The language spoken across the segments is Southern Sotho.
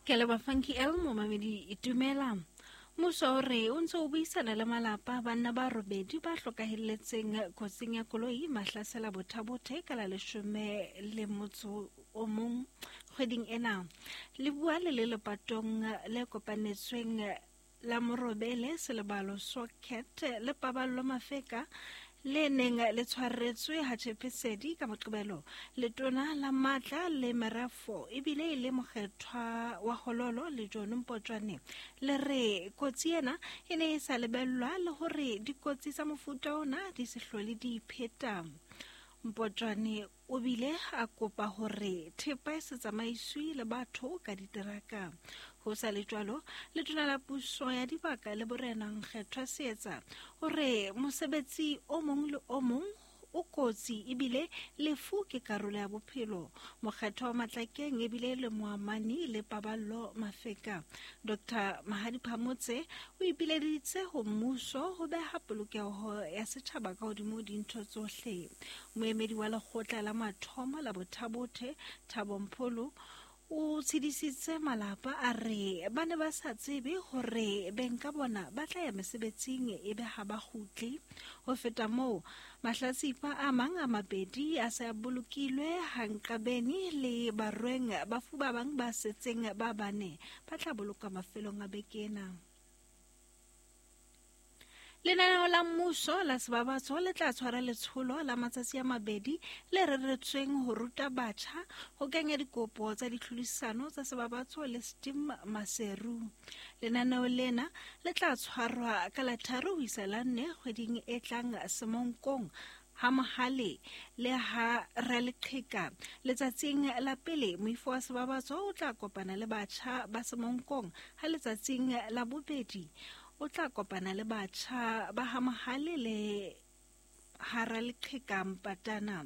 Ke a leboha Funky L momamedi itumela. Mmuso o re o ntse o buisana le malapa a banna ba robedi ba hlokahelletseng kotsing ya koloi Mahlasela Bothabothe ka la 11 o mong kgweding ena. Le bua le le lepatong le kopanetsweng la Morobele Selebalo Socket le Paballo Mafeka le neng le tshwaretswe ha Tshepesedi ka Moqebelo. Letona la Matla le Merafo ebile e le mokgethwa wa Hololo le John Mpotjwane le re kotsi ena e ne e sa lebellwa le hore dikotsi tsa mofuta ona di se hlole di ipheta. Mpotjwane O bile a kopa hore thepa e se tsamaiswe le batho ka diteraka. Ho sa le jwalo, letona la puso ya dibaka le borena Nkgethwa Seetsa o re mosebetsi o mong le o mong o kotsi ebile lefu ke karolo ya bophelo. Mokgethwa wa Matlakeng ebile le moamani le Paballo Mafeka. Dr. Mahadi Phamotse o ipileditse ho mmuso ho beha polokeho ya setjhaba ka hodimo dintho tsohle. Moemedi wa lekgotla la mathomo la Bothabothe, Thabo Mpholo, o tshedisitse malapa a re ba ne ba sa tsebe hore beng ka bona ba tla ya mesebetsing e be ha ba kgutle. Ho feta moo, mahlatsipa a mang a mabedi a se a bolokilwe Hanqabeni le Barweng, bafu ba bang ba setseng ba bane ba tla bolokwa mafelong a beke ena. Lenaneo la mmuso la Sebabatso le tla tshwara letsholo la matsatsi a mabedi le reretsweng ho ruta batjha ho kenya dikopo tsa ditlhodisano tsa Sebabatso le Steam Maseru. Lenaneo lena le tla tshwarwa ka la 3 ho isa la 4 kgweding e tlang Semonkong ha Mohale le ha Raleqheka. Letsatsing la pele moifo wa Sebabatso o tla kopana le batjha ba Semonkong, ha letsatsing la bobedi o tla kopana le batjha ba ha Mohale le hara leqheka Mpatana.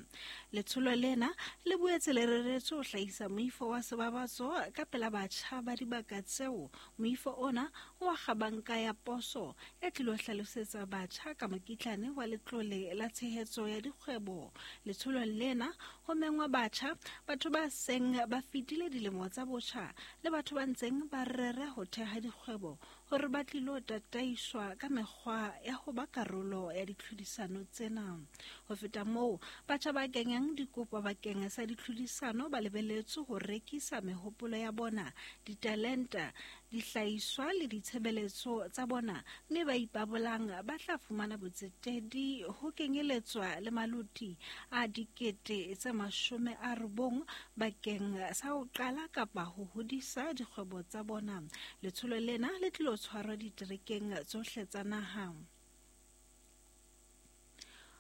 Letsholo lena le boetse le reretswe ho hlahisa moifo wa Sebabatso ka pela batjha ba dibaka tseo. Moifo ona o akga banka ya poso e tlilo hlalosetsa batjha ka mokitlane wa letlole la tshehetso ya dikgwebo. Letsholong lena ho mengwa batjha, batho ba seng ba fetile dilemo tsa botjha le batho ba ntseng ba rera ho theha dikgwebo hore ba tlilo tataiswa ka mekgwa ya ho ba karolo ya ditlhodisano tsena. Ho feta moo, batjha ba kenyang dikopo bakeng sa ditlhodisano ba lebeletswe ho rekisa mehopolo ya bona, ditalenta, dihlahiswa le ditshebeletso tsa bona, mme ba ipabolang ba tla fumana botsetedi ho kenyeletswa le maloti a 90,000 bakeng sa ho qala kapa ho hodisa dikgwebo tsa bona. Letsholo lena le tlilo tshwarwa diterekeng tsohle tsa naha.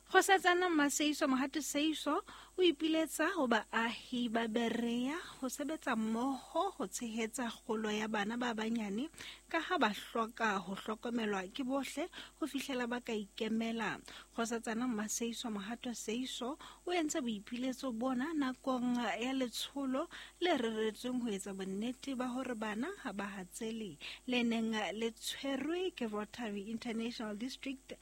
Kgosatsana Mmaseiso Mohate Seiso o ipiletsa ho baahi ba Berea ho sebetsa mmoho ho tshehetsa kgolo ya bana ba banyane ka ha ba hloka ho hlokomelwa ke bohle ho fihlela ba ka ikemela. Kgosatsana Mmaseiso Mohato Seiso o entse boipiletso bona nakong ya letsholo le reretsweng ho etsa bonnete ba hore bana ha ba hatsele, le neng le tshwerwe ke Rotary International District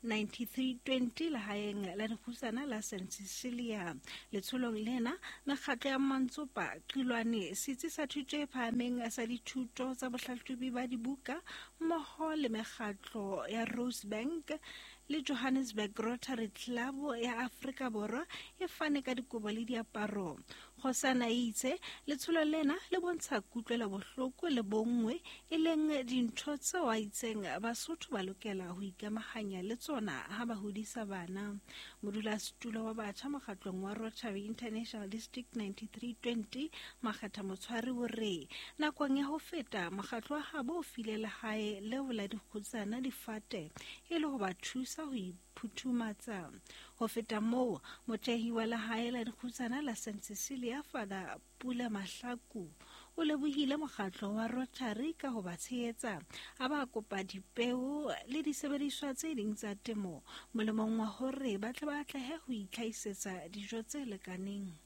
9320 lehaeng la dikgutsana la St. Cecilia. Letsholong lena, mekgatlo ya Mantsopa, Qilwane, Setsi sa Thuto e Phahameng sa Dithuto tsa Bohlahlobi ba Dibuka, mmoho le mekgatlo ya Rosebank le Johannesburg Rotary Club ya Afrika Borwa e fane ka dikobo le diaparo. Kgosana e itse letsholo lena le bontsha kutlwelobohloko le bonngwe, e leng dintho tseo a itseng Basotho ba lokela ho ikamahanya le tsona ha ba hodisa bana. Modulasetulo wa batjha mokgatlong wa Rotary International District 9320 Makgetha Motshwari o re nakong ya ho feta mokgatlo wa habo o file lehae leo la dikgutsana difate e le ho ba thusa ho iphuthumatsa. Ho feta moo, mothehi wa lehae la dikgutsana la St. Cecilia Father Pula Mahlaku o lebohile mokgatlo wa Rotary ka ho ba tshehetsa, a ba kopa dipeo le disebediswa tse ding tsa temo molemong wa hore ba tle ba atlehe ho itlhahisetsa dijo tse lekaneng.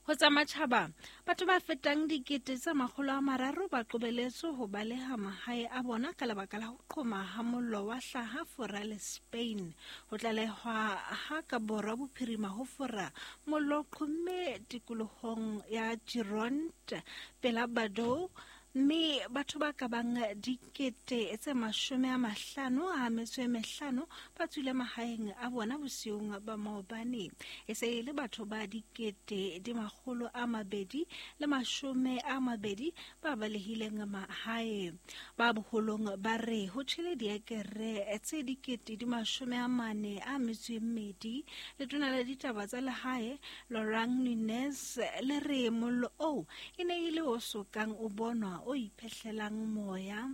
Ho tsa matjhaba, batho ba fetang 300,000 ba qobeletswe ho baleha mahae a bona ka lebaka la ho qhoma ha mollo wa hlaha Fora le Spain. Ho tlalehwa ha ka borwa bophirima ho Fora, mollo o qhomme tikolohong ya Gironde pela Bordeaux, mme batho ba ka bang 55,000 ba tswile mahaeng a bona bosiung ba maobane. E se e le batho ba 220,000 ba balehileng mahae. Ba boholong ba re ho tjhele diekere tse 42,000. Letona la ditaba tsa lehae Laurent Nunez le re mollo oo e ne e le o sokang o bonwa o iphehlelang moya.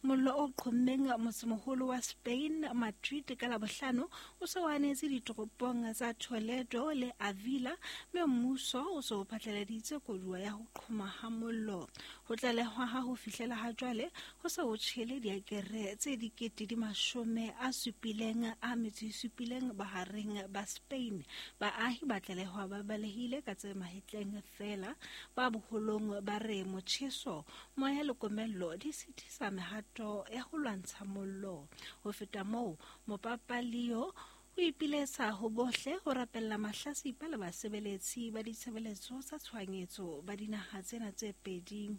Mollo o qhommeng motsemoholo wa Spain, Madrid, ka Labohlano o se o anetse ditoropong tsa Toledo le Avila, mme mmuso o se o phatlaladitse koduwa ya ho qhoma ha mollo. Ho tlalehwa ha ho fihlela ha jwale ho se ho tjhele diakere tse 77,007 bohareng ba Spain. Baahi ba tlalehwa ba balehile ka tse mahetleng feela. Ba boholong ba re motjheso, moya le komello di sitisa mehato ya ho lwantsha mollo. Ho feta moo, Mopapa Leo o ipiletsa ho bohle ho rapella mahlasipa le basebeletsi ba ditshebeletso tsa tshohanyetso ba dinaha tsena tse pedi.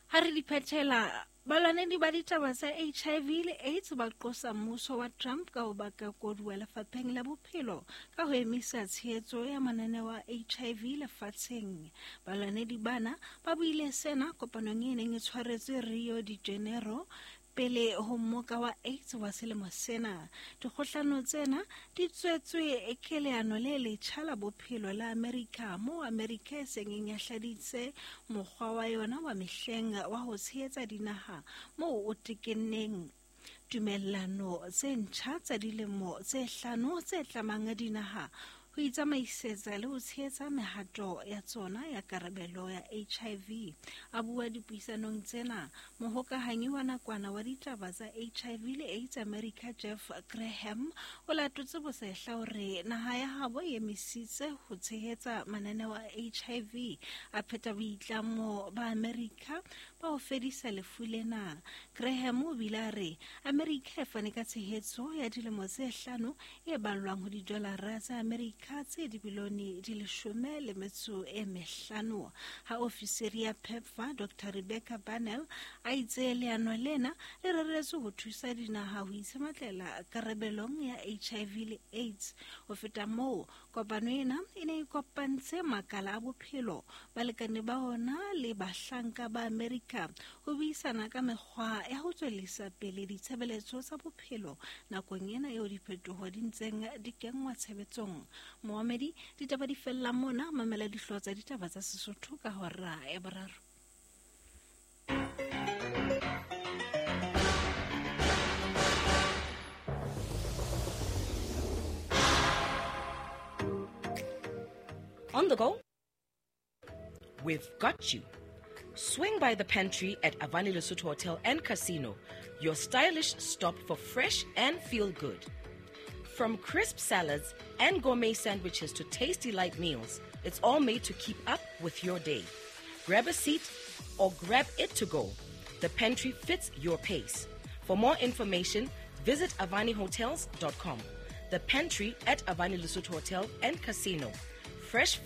Ha re di phethela, balwanedi ba ditaba tsa HIV le AIDS ba qosa mmuso wa Trump ka ho baka koduwa lefapheng la bophelo ka ho emisa tshehetso ya mananeo a HIV lefatsheng. Balwanedi bana ba buile sena kopanong e neng e tshwaretswe Rio de Janeiro pele ho mmoka wa AIDS wa selemo sena. Dikgohlano tsena di tswetswe ke leano le letjha la bophelo la Amerika, moo Amerika e seng e nyahladitse mokgwa wa yona wa mehleng wa ho tshehetsa dinaha moo o tekenneng tumellano tse ntjha tsa dilemo tse 5 tse tlamang dinaha ho itsamaisetsa le ho tshehetsa mehato ya tsona ya karabelo ya HIV. A bua dipuisanong tsena, mohokahanyi wa nakwana wa ditaba tsa HIV le AIDS America Jeff Graham o latotse bosehla hore naha ya habo e emisitse ho tshehetsa mananeo a HIV, a pheta boitlamo ba Amerika ba ho fedisa lefu lena. Graham o bile a re Amerika e fane ka tshehetso ya dilemo tse 5 e ballwang ho didolara tsa Amerika tse dibilione di 15. Ha ofisiri ya PEPFAR Dr. Rebecca Barnell a itse leano lena le reretswe ho thusa dinaha ho itshematlela karabelong ya HIV le AIDS. Ho feta moo, kopano ena e ne e kopantse makala a bophelo, balekane ba ona le bahlanka ba Amerika ho buisana ka mekgwa ya ho tswellisa pele ditshebeletso tsa bophelo nakong ena eo diphetoho di ntseng di kenngwa tshebetsong. Moamedi, ditaba di fella mona, mamela dihlooho tsa ditaba tsa Sesotho ka hora ya 3. On the go? We've got you. Swing by the pantry at Avani Lesotho Hotel and Casino, your stylish stop for fresh and feel good. From crisp salads and gourmet sandwiches to tasty light meals, it's all made to keep up with your day. Grab a seat or grab it to go. The pantry fits your pace. For more information, visit avanihotels.com. The pantry at Avani Lesotho Hotel and Casino. Fresh